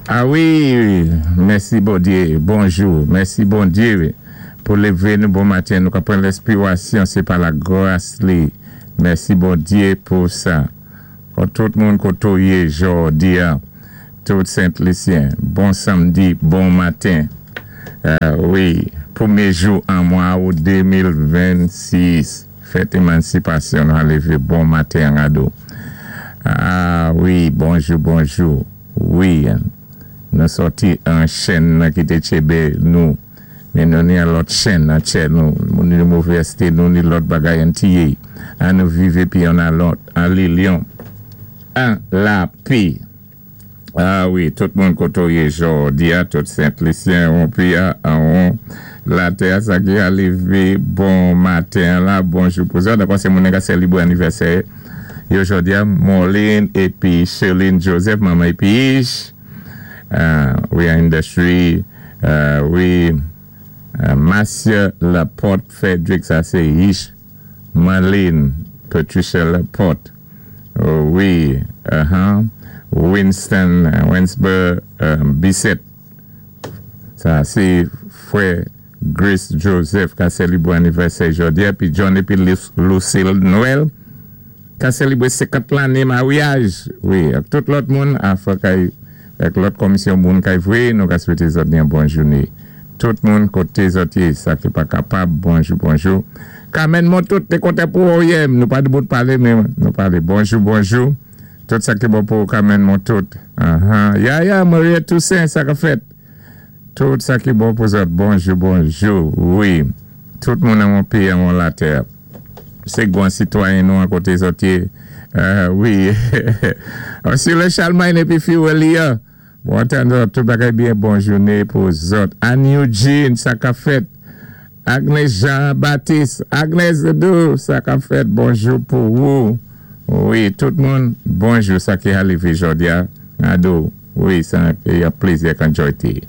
A wi, mèsi Bondyé, bonjou, mèsi Bondyé pou lévé nou bon maten, nou ka pran lèspirasyon, sé pa lagras li, mèsi Bondyé pou sa. Kon tout moun koto yé jòdi-a, tout Sent Lisyen, bon samdi, bon maten. Wi, pwémyé jou an mwa out 2026, fèt émansipasyon nou a lévé bon maten an gado. A wi, bonjou, bonjou. Wi, nou sòti an chenn nan ki té tchébé nou, men nou ni an lòt chenn an tchè nou, nou ni movèzté, nou ni lòt bagay an tiyé. An nou viv épi an alòt, an lilyon, an lapé. A wi, tout moun koto yé jòdi-a, tout Sent Lisyen wonpi a, anwon latè a, sa ki alivé bon maten an la, bonjou pou zòt. Ankò sé moun ka sèlibré anivèsè yo jòdi-a, Morlene épi Sherline Joseph, manman épi Ish. We are in the tree. Wi, Marcia Laporte Frederick, sa sé Ish. Marlene Patricia Laporte, wi, Winston Winsber Bisset, sa sé frè Grace Joseph ka sèlibré anivèsè jòdi-a, pi John épi Lucille Noël ka sèlibré 50 lanné maryaj, wi, ak tout lòt moun afè kay ak lòt kòmisyon moun kay vwé, nou ka swété zòt yon bon jouné. Tout moun koté zòt yé, sa ki pa kapab, bonjou, bonjou. Carmen Montout, té kontan pou ou yè, nou pa debout palé, men nou palé. Bonjou, bonjou. Tout sa ki bon pou ou, Carmen Montout. Ahan. Yaya, Maria Toussaint, sa ka fèt. Tout sa ki bon pou zòt, bonjou, bonjou. Wi. Tout moun an mon péyi, an mon latè. Sé gwan sitwayen nou an koté zòt yé. Wi. Ursula Charlemagne épi Fiwelia. Bon antann zòt, tout bagay byen, bon jouné pou zòt. Anne Eugene, sa ka fèt. Agnes Jean Baptiste, Agnes Doudou, sa ka fèt, bonjou pou ou. Wi, tout moun, bonjou, sa ki alivé jòdi-a, ado, wi, sa yon plézi ak an jòyté.